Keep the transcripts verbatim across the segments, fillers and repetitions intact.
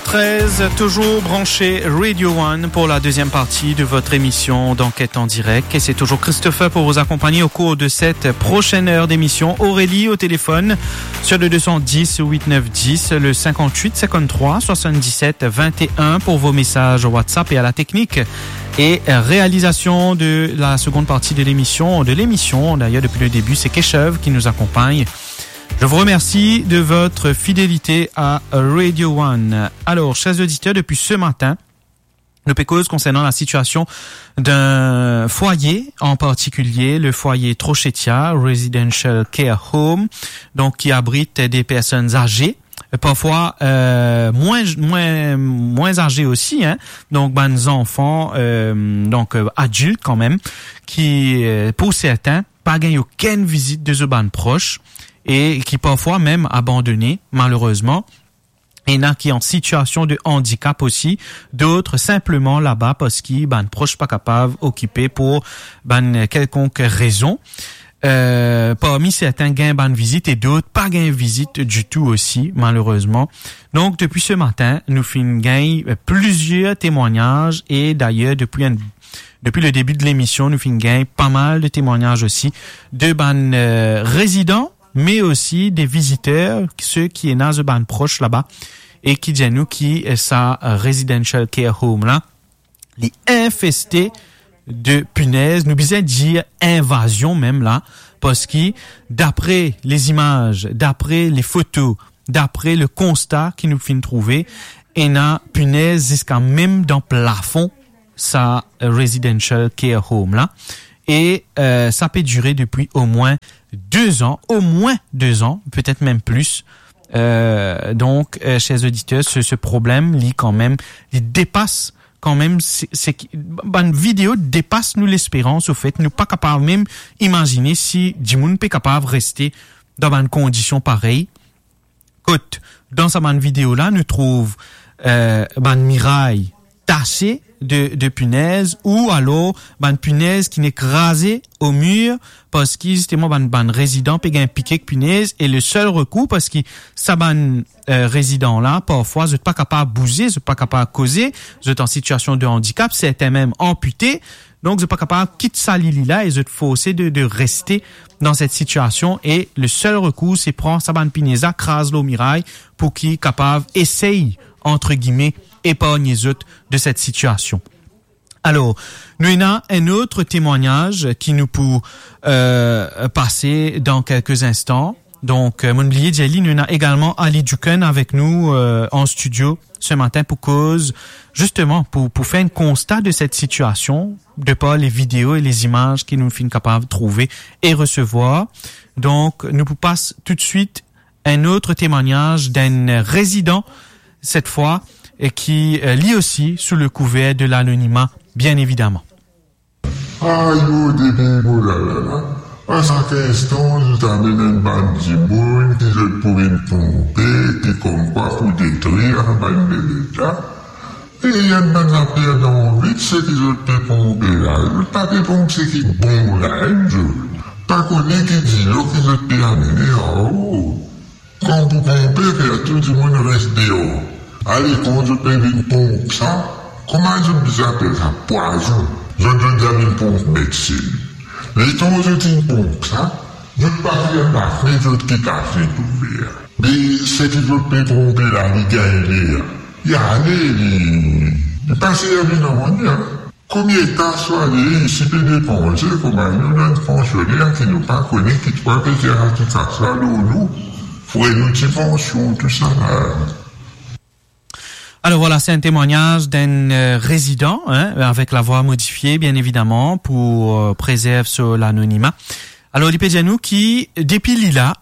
Treize, toujours branché Radio One pour la deuxième partie de votre émission d'enquête en direct. Et c'est toujours Christopher pour vous accompagner au cours de cette prochaine heure d'émission. Aurélie au téléphone sur le deux cent dix huit neuf dix, le cinquante-huit cinquante-trois soixante-dix-sept vingt et un pour vos messages WhatsApp et à la technique et réalisation de la seconde partie de l'émission, de l'émission d'ailleurs depuis le début, c'est Keshav qui nous accompagne. Je vous remercie de votre fidélité à Radio One. Alors, chers auditeurs, depuis ce matin, nou pe koz konsernan la sitiasion d'un foyer, an partikilier le foyer Trochetia Residential Care Home, donk ki abrit de personn aze, parfwa, euh, mwin, mwin, mwin aze osi, hein, donk bann zanfan, euh, donk, euh, adilt kanmem, ki, euh, pou sertin, pa gagn okenn vizit de zot bann pros e ki parfwa mem abandone, malerezman. Ena ki an sitiasion de andikap osi, dot sinpleman laba parski bann pros pa kapav okipe pou bann kelkonk rezon. Euh, parmi sertin gagn bann vizit e dot pa gagn vizit ditou osi, malerezman. Donk, depi se matin, nou finn gagn, euh, plizier temwagnaz e dayer, depi enn, depi le debi de lemision, nou finn gagn pa mal de temwagnaz osi de bann, euh, rezidan, me osi de viziter, se ki ena zot bann pros laba, e ki dir nou ki, eh, sa, eh, residential care home la, li infeste de pinez, nou bizin dir invazion mem la, parski dapre lezimaz, dapre lefoto, dapre lekonsta ki nou finn trouve, ena pinez ziska mem dan plafon sa, eh, residential care home la. E, eh, sa pe dire depi omwin de zan, omwin de zan, petet mem plis. Eh, donk, eh, chers auditeurs, se, se problem, li kanmem, li depas kanmem, se, se ki, bann video depas nou lesperans, anfet, nou pa kapav mem imazine si dimoun pe kapav reste dan bann kondision parey. Kot, dan sa bann video la, nou trouv, eh, bann miray tase de, de pinez, ou alor bann pinez ki nek kraze o mir, parski zisteman bann, bann rezidan pe gagn pike ek pinez, e le sel rekour, parski sa bann, eh, rezidan la, parfwa, zot pa kapav bouze, zot pa kapav koze, zot an sitiasion de andikap, sertin mem anpite, donk zot pa kapav kit sa lili la e zot forse de, de reste dan set sitiasion e le sel rekour, se pran sa bann pinez la, kraz lor miray pou ki kapav esey, antre gime, epargne zot de set sitiasion. Alor, nou ena enn lot temwagnaz ki nou pou, eh, pase dan kelke instan. Donk, eh, mo'nn bliye dir li, nou ena egalman Ali Duken avek nou, eh, an stidio se matin pou koz, zisteman, pou, pou fer enn konsta de set sitiasion, de par le video e lezimaz ki nou finn kapav trouve e resevwar. Donk, nou pou pas toutswit enn lot temwagnaz d'enn rezidan, set fwa, e ki, eh, li osi sou le kouver de lanonima, bien evidaman. Ayo, depi mo la, la, la. A sak instan, zot amenn enn bann dimoun ki zot pou vinn ponpe, ki konmkwa pou detrir bann bebe la. E enn bann zafer dan vit, seki zot pe ponpe la, zot pa pe ponp seki bon la, enn zour. Pa kone ki dilo ki zot pe amenn, oh. Kan pou ponpe, fer tou dimoun res deor. Ale, kan zot pe vinn ponp sa, kouma zot bizin apel sa, pwazon. Zot, zot bizin vinn ponp medsin. Letan zot finn ponp sa, zot pa fer lafnet, zot kit lafnet ouver. Me seki zot pe ponpe la, li gagn ler. Li ale, li, li pa servi nanye, hein. Komie kas la ale, isi pe depanse kouma nou, nou enn pansioner ki nou pa kone ki twa pe tir a ti kas la lor nou, fre nou ti pansion, tousala. Alors voilà, c'est un témoignage d'un, euh, résident, hein, avec la voix modifiée, bien évidemment, pour, euh, préserver son anonymat. Alors, li pe dir nou ki, depi li la,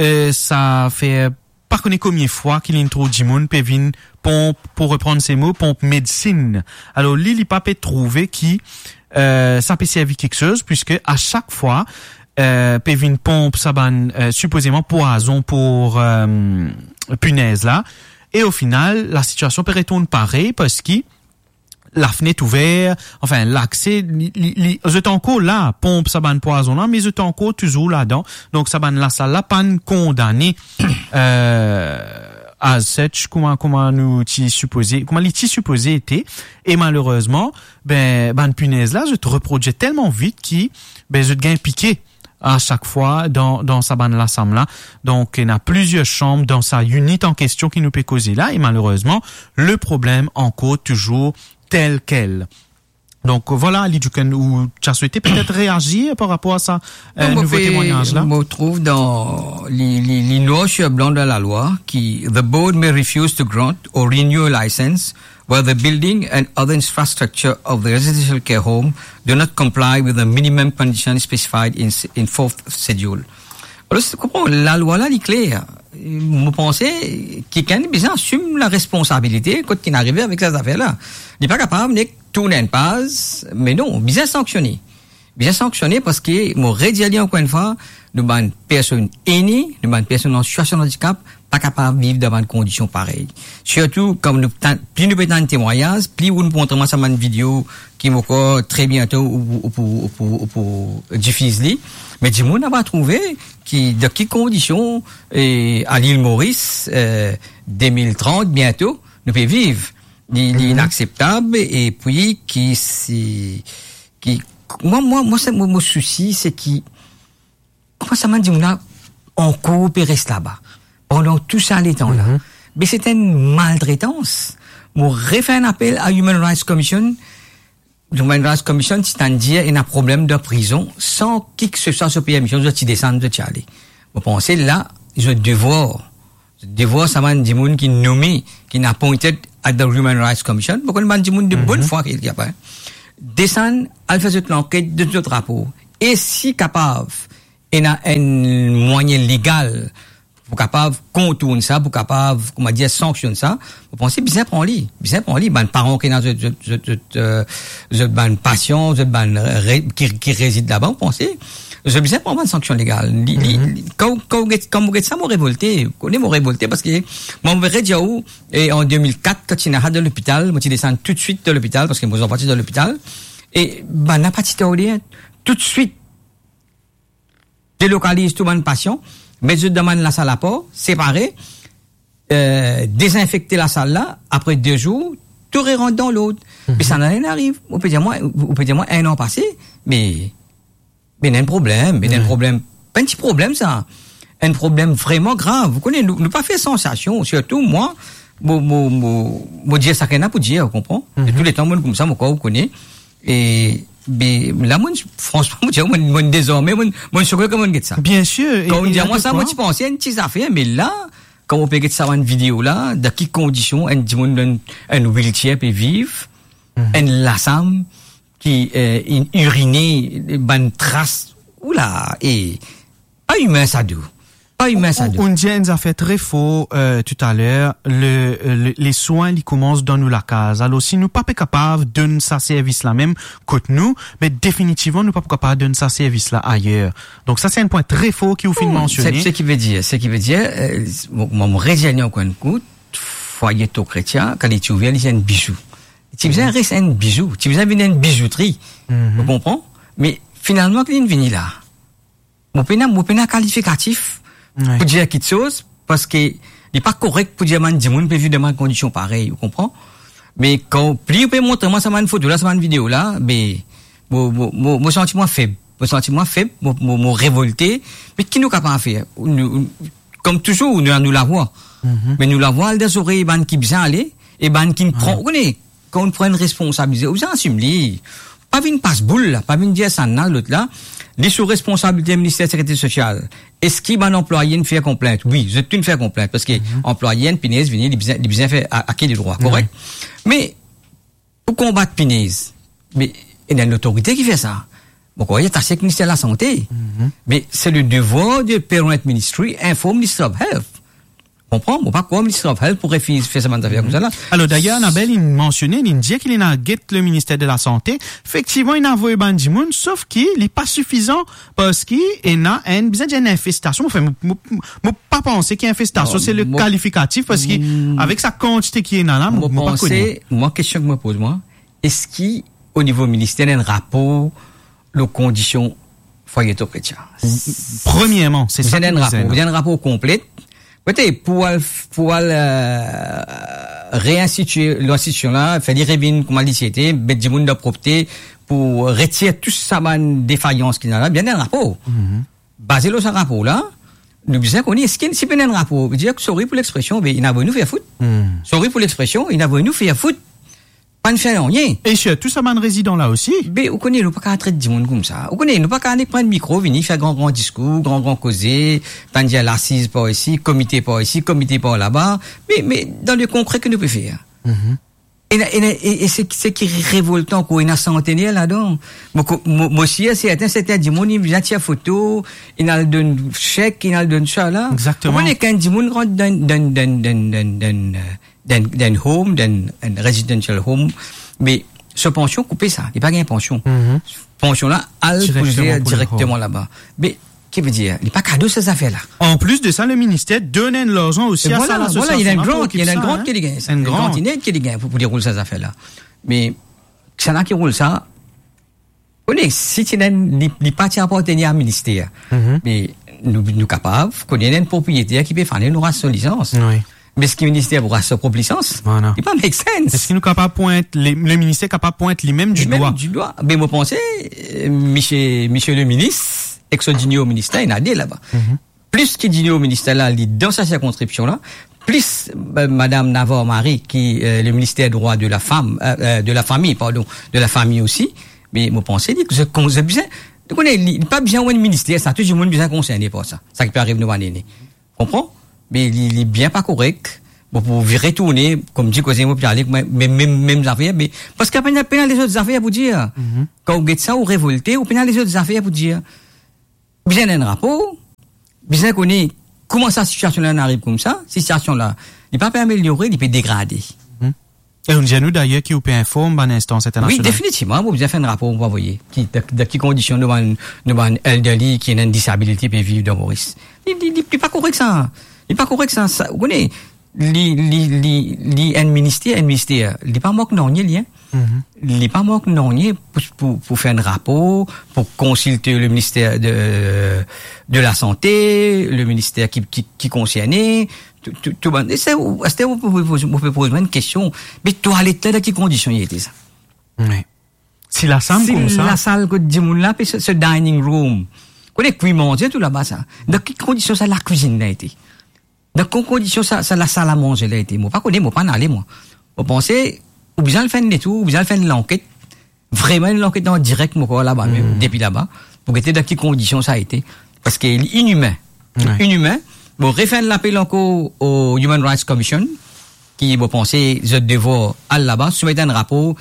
euh, sa fer pa kone komie fwa ki linn trouv dimoun pe vinn ponp, pou reprann se mo, ponp medsin. Alors, li, li pa pe trouve ki, euh, sa pe servi kiksoz, puiske a sak fwa, euh, pe vinn ponp sa bann, euh, sipozeman pwazon pou, euh, pinez la. E o final, la sitiasion pe retourn parey, parski lafnet ouver, anfin, lakse, li, li, li, zot ankor la, ponp sa bann pwazon la, me zot ankor touzour ladan. Donk, sa bann lasal la pa'nn kondane, euh, as such, kouma, kouma nou ti sipoze, kouma li ti sipoze ete, e malerezman, ben, bann pinez la, zot reprodwir telman vit ki, ben, zot gagn pike a sak fwa dan, dan sa bann lasam la. Donk, ena plizier sanm dan sa unit an kestion ki nou pe koze la, e malerezman, le problem ankor touzour tel kel. Donk, vwala, Ali Djuken, ou ti a swete petet reazir par rapor a sa, euh, Non, mo nouvo pe, temwagnaz la? Mo trouv dan li, li, li noir sur blanc dan lalwa ki the board may refuse to grant or renew a license where the building and other infrastructure of the residential care home do not comply with the minimum conditions specified in, in fourth schedule. Alor, se, konpran, lalwa la, li kler. Mo panse, kikenn bizin asim laresponsabilite kot ki'nn arive avek sa zafer la. Li pa kapav nek tourn enn paz, me non, bizin sanksione. Bizin sanksione parski, mo redir li ankor enn fwa, nou bann personn ene, nou bann personn an sitiasion andikap, pa kapav viv dan bann kondision parey. Sirtou, kan nou tann, pli nou pe tann temwagnaz, pli ou pou montre mwa sa bann video ki mo krwar tre biento ou, ou pou, ou pou, ou pou difiz li. Me dimoun ava trouve ki, dan ki kondision, e, a Lil Moris, e, de mil trant, biento, nou pe viv. Li, li inakseptab, epi ki si, ki, mwa, mwa, mwa, sa, mo, mo sousi, se ki, kouma sa bann dimoun la ankor pe res laba pandan tou sa letan la? Me se enn maltretans. Mo refer enn apel a Human Rights Commission. Human Rights Commission ti tann dir ena problem dan prizon san kiseswa so permision, zot ti desann, zot ti ale. Mo panse la, zot devwar, zot devwar sa bann dimoun ki nome, ki appointed at the Human Rights Commission, pou konn bann dimoun de bonn fwa ki, ki apre desann, al fer zot lanket, donn zot rapor. E si kapav, ena enn mwayin legal pou kapav kontourn sa, pou kapav, kouma dir, sanksionn sa, mo panse bizin pran li, bizin pran li. Bann paran ki ena zot, zot, zot, zot, e, zot bann pasian, zot bann re-, ki, ki rezid laba, mo panse zot bizin pran bann sanksion legal. Li, li, li, kan, kan, kan mo get sa, mo revolte. Ou kone mo revolte parski mwa, mo redir ou, e an de mil kat, kan ti ena sa dan lopital, mo ti desann toutswit dan lopital, parski mo zanfan ti dan lopital, e bann la pa ti tarde, toutswit delokaliz tou bann pasian, met zot dan bann lasal apar, separe, e, dezinfekte lasal la, apre de zour, tou rerant dan lord. Me sa nanye ariv. Ou pe dir mwa, ou pe dir mwa enn an pase, me, me ena enn problem, me ena enn problem, pa enn ti problem sa, enn problem vreman grav. Ou kone, nou, nou pa fer sansasion, sirtou mwa, mo, mo, mo, mo dir sa ki ena pou dir, ou konpran? E touletan, mo koumsa, mo krwar ou kone, E, be, la, mo, fransman, mo dir, mo, mo dezorme, mo, mo soke kan mo get sa. Biensir, e, kan ou dir mwa sa, mo ti panse enn ti zafer, me la, kan mo pe get sa bann video la, dan ki kondision enn dimoun dan enn wheelchair pe viv, enn lasam ki, e, inn irine, bann tras, oula, e, pa imin sa, dou. Pa imin sa, dou. Ou, ou dir enn zafer tre for, e, toutaler, le, le, leswin, li koumans dan nou lakaz. Alor, si nou pa pe kapav donn sa servis la mem kot nou, be definitivman, nou pa pou kapav donn sa servis la ayer. Donk, sa, se enn pwin tre for ki ou finn mansione. Seki ve dir, seki ve dir, e, mo, mo, mo redir li ankor enn kou, fwaye Tokretia, kan li ti ouver, li ti enn bizou. Ti bizin res enn bizou, ti bizin vinn enn bizoutri. Ou konpran? Me finalman, ki linn vini la? Mo pena, mo pena kalifikatif pou dir kiksoz, parski li pa korek pou dir bann dimoun pe viv dan bann kondision parey, ou konpran? Me kan pli ou pe montre mwa sa bann foto la, sa bann video la, be, mo, mo, mo, mo santi mwa feb. Mo santi mwa feb, mo, mo, mo revolte. Me ki nou kapav fer? Nou, kom touzour, nou, nou lavwa. Me nou lavwa al dan zorey bann ki bizin ale, e bann ki pran, ou kone, kan ou pran enn responsabilite, ou bizin asim li. Pa vinn pas boul la, pa vinn dir sa la, lot la, li sou responsabilite Minister Sekirite Sosial. Eski bann anplwaye inn fer konplint? Wi, zot tou inn fer konplint, parski anplwaye enn pinez vini, li bizin, li bizin fer a, a ki li drwa, korek? Me pou konbat pinez, me ena enn lotorite ki fer sa. Mo krwar li atase ek Minister Lasante. Me se le devwar de Parent Ministry, inform Ministry of Health. Konpran? Mo pa krwar Ministry of Health pou refiz fer sa bann zafer koumsa la. Alor, dayer, Annabelle, li mansione, li dir ki li ena get le Minister de la Sante. Efektivman, li ena avoy bann dimoun, sof ki li pa sifizan, parski ena enn, bizin dir enn infestasion. Anfin, mo, mo, mo pa panse ki infestasion, se le kalifikatif, parski avek sa kantite ki ena la, mo, mo pa kone. Mwa, kestion ki mo poz mwa, eski o nivo minister, ena enn rapor lor kondision fwaye Tokretia? Premierman, se sa ki bizin ena. Bizin enn rapor, bizin enn rapor konplet, Kote, pou al, pou al, euh, reinstitie linstitisyon la, fer li revinn kouma li ti ete, met dimoun dan propte, pou retir tou sa bann defayans ki ena la, bizin enn rapor. Mhm. Baze lor sa rapor la, nou bizin kone, eski si pena enn rapor, dir, sorry pou lexpresion, be, inn avoy nou fer fout. Hmm. Sorry pou lexpresion, inn avoy nou fer fout. Pa'nn fer nanye. E sirtou sa bann rezidan la osi. Be, ou kone, nou pa kav tret dimoun koumsa. Ou kone, nou pa kav nek pran mikro, vini fer gran, gran diskour, gran, gran koze, pa'nn dir lasiz par isi, komite par isi, komite par laba. Me, me, dan le konkre, ki nou pe fer? Mhm. E, e, e, e se, se ki revoltan, kwa, ena santener ladan. Mo, mo, mo sir sertin, sertin dimoun, inn vinn tir foto, inn al donn sek, inn al donn sa la. Exactement. Ou kone, kan dimoun rant dan, dan, dan, dan, dan, dan, euh, dan, dan home, dan, dan residential home, me so pansion koupe sa, li pa gagn pansion. Mhm. Pansion la, al pou li direkteman laba. Me, ki vedir, li pa kado sa zafer la. An plis de sa, le minister donn enn larzan osi a sa lasosiasion la pou okip sa, hein. Enn grant ki li gagn, sa. Enn grant ined ki li gagn pou, pou li roul sa zafer la. Me, kisannla ki roul sa, kone, si ti ena, li, li pa ti apartenir a minister. Mhm. Me nou, nou kapav, kone, ena enn propriyeter ki pe fane nou ras so lisans. Wi. Me eski minister pou ras so prop lisans? Voilà. Li pa make sense. Eski nou kapav pwint, le, le minister kapav pwint limem didwa? Limem didwa. Me mo panse, euh, misie, misie le minis, ek so dinior minister, ena de laba. Mhm. Plis ki dinior minister la, li dan sa sirkonskripsion la, plis, euh, madam Navarre Marie, ki, euh, le minister drwa de la fam, euh, euh, de la fami, pardon, de la fami osi, me mo panse li, zot kon-, zot bizin, ou kone, li, li pa bizin enn minister, sa, tou dimoun bizin konserne par sa, sa ki pe ariv nou bann ene. Konpran? Me li, li bien pa korek, bon, pou vire tourne, koumdir koze mo pe ale, me, me, me, mem zafer, me, parski pena, pena lezot zafer pou dir. Mhm. Kan ou get sa, ou revolte, ou pena lezot zafer pou dir. Bizin enn rapor, bizin kone kouma sa sitiasion la inn ariv koumsa, sitiasion la, li pa pe ameliore, li pe degrade. Mhm. E ou dir nou dayer ki ou pe inform bann instans internasional. Wi, definitivman, mo bizin fer enn rapor pou avoye. Ki, dan, dan ki kondision nou bann, nou bann elderly ki ena enn disability pe viv dan Moris. Li, li, li, li pa korek sa. Li pa korek sa, sa, ou kone, li, li, li, li enn minister, enn minister. Li pa mank nanye, li, hein. Mhm. Li pa mank nanye pou, pou, pou fer enn rapor, pou konsilte le minister de, de la sante, le minister ki, ki, ki konserne, tou, tou, tou bann, e se, ou, aster ou pe poz, ou pe poz mwa enn kestion, me twalet la, dan ki kondision li ete sa? Wi. Si lasam koumsa. Si lasal kot dimoun la, pe se, se dining room. Kone kwi manze tou laba sa. Dan ki kondision sa lakwizinn la ete? Dan ki kondision sa, sa lasal a manze la ete? Mo pa kone, mo pa'nn ale, mwa. Mo panse, ou bizin al fer enn detour, ou bizin al fer enn lanket. Vreman, enn lanket an direk, mo krwar laba mem, hmm, depi laba, pou gete dan ki kondision sa ete. Parski li inimin. Li, wi, inimin. Bon, refer enn lapel ankor o Human Rights Commission, ki, mo panse, zot devwar al laba, soumet enn rapor,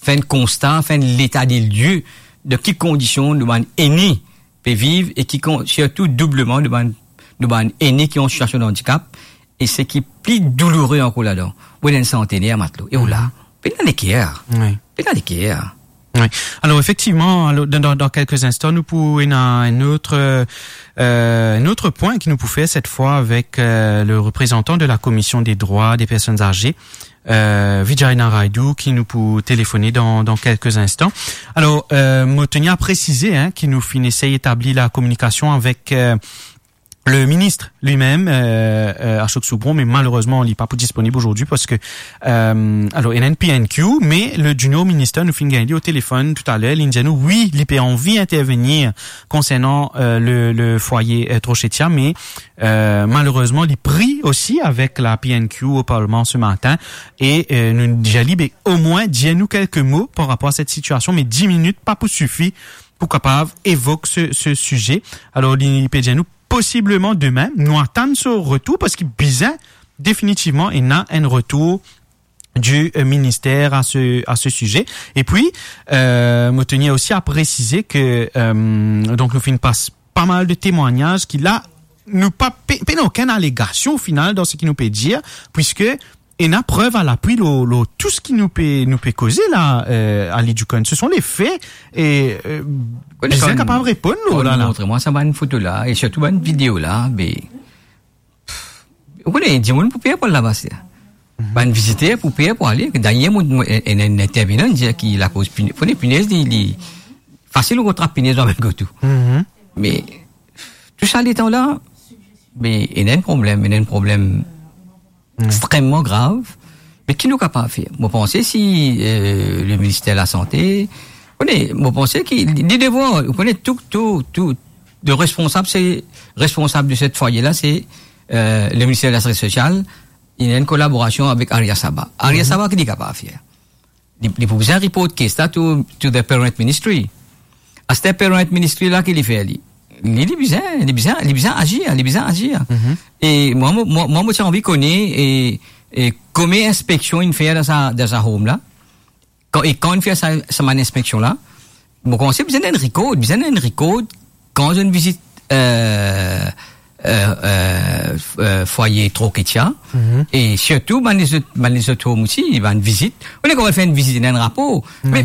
fer enn konsta, fer enn leta de lie de ki kondision nou bann ene pe viv e ki kon-, sirtou doubleman nou bann, nou bann ene ki an sitiasion de andikap, e seki pli douloure ankor ladan, ou ena enn santener, matlo, e ou la, pena leker. Wi. Pena leker. Wi. Alor, efektivman, alor, dan, dan, dan kelke instan, nou pou ena enn lot, euh, enn lot pwin ki nou pou fer set fwa avek, euh, le reprezantan de la Commission des droits des personnes âgées, euh, Vijay Naraidou, ki nou pou telefone dan, dan kelke instan. Alor, euh, mo teni a presize, hein, ki nou finn esey etabli la kominikasion avek, euh, le ministre lui-même, euh, euh, Ashok Soubron, me malerezman, li pa pou disponib azordi parski, euh, alor, ena enn P N Q, me le junior minister, nou finn gagn li o telefonn toutaler, li dir nou, wi, li pe anvi intervenir konsernan, euh, le, le fwaye, euh, Trochetia, me, euh, malerezman, li pri osi avek la P N Q o parlman se matin, e, euh, nou dir li, be, omwin, dir nou kelke mo par rapor a set sitiasion, me dis minit pa pou sifi pou kapav evok se, se size. Alor, li pe dir nou, posibleman demin, nou atann so retour, parski bizin definitivman ena enn retour du, euh, ministère à ce, à ce sujet. Et puis, euh, mo teni osi a presize ke, euh, donk nou finn pas pa mal de temwagnaz ki la, nou pa pe-, pena okenn alegasion o final dan seki nou pe dir, puiske ena prev a lapui lor, lor tou seki nou pe, nou pe koze la, euh, Ali Dukon. Ce sont les faits et, euh, bizin kapav reponn lor la, la. Montre mwa sa bann foto la, e sirtou bann video la, be, ou kone, dimoun pou per pou al laba, se. Mhm. Bann viziter pou per pou ale. Dayer, mo, mo, enn, enn intervenan dir ki lakoz pine-, kone pinez, li, li fasil ou trap pinez dan bann koto. Mhm. Me, tou sa letan la, Me ena enn problem, ena enn problem extreman grav. Me ki nou kapav fer? Mo panse si, euh, le minister lasante, kone, mo panse ki li, li devwar, ou kone, tou, tou, tou, le responsab, se, responsab de set fwaye la, se, euh, le minister de la Sekirite Sosial, li ena enn kolaborasion avek Aria Saba. Aria Saba, ki li kapav fer? Li, li pou bizin report case la to, to the parent ministry. Aster parent ministry la, ki li fer li? Li, li bizin, li bizin, li bizin azir, li bizin azir. E mwa, mo, mwa, mwa, mo ti anvi kone, e, e komie inspeksion inn fer dan sa, dan sa home la? Kan, e kan inn fer sa, sa bann inspeksion la? Mo panse bizin enn record, bizin enn record kan zot inn vizit, euh, euh, euh, f-, euh, fwaye Troketia, e sirtou bann lezot, bann lezot home osi, bann vizit. Ou ena kapav fer enn vizit, ena enn rapor. Me,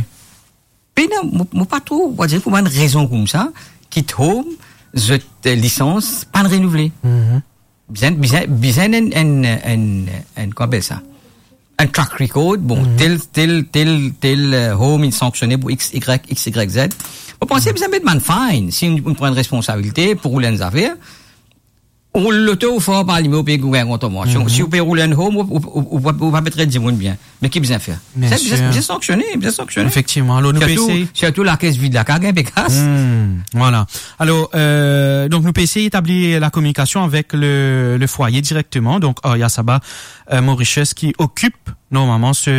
pena, mo, mo pa trouv, mo dir, pou bann rezon koumsa, ki home, zot, euh, lisans pa'nn renouvle. Bizin, bizin, bizin enn, enn, enn, enn, kouma apel sa? Enn track record, bon, tel, tel, tel, tel, euh, home inn sanksione pou X, Y, X, Y, Z. Mo panse bizin met bann fine, si ou, ou pran responsabilite pou roul enn zafer, ou loto ou for pa alime, ou pe gagn kontravansyon. Si ou pe roul enn home, ou, ou, ou, ou, ou pa pe tret dimoun bien. Me ki bizin fer? Bizin, bizin sanksione, bizin sanksione. Efektivman. Alor, nou pe esey, sirtou lakes vid la, kan gagn pe kas. Vwala. Alor, euh, donk nou pe esey etabli la kominikasion avek le, le fwaye direkteman. Donk, Aria Saba, euh, Mauritius ki okip normalman se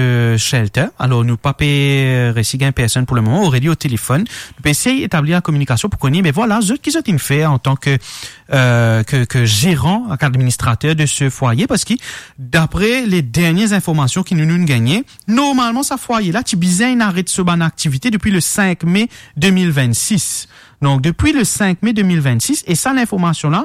shelter. Alor, nou pa pe, euh, resi gagn personn pou le moman. Aurélie o telefon. Nou pe esey etabli la kominikasion pou kone, me vwala, zot ki zot inn fer antan ke, euh, ke, ke zeran, administrater de se fwaye, parski dapre le dernie zenformasion ki nou, nou'nn gagne, normalman, sa fwaye la ti bizin aret so bann aktivite depi le sink me de mil vennsis. Donk, depi le sink me de mil vennsis, e sa linformasion la,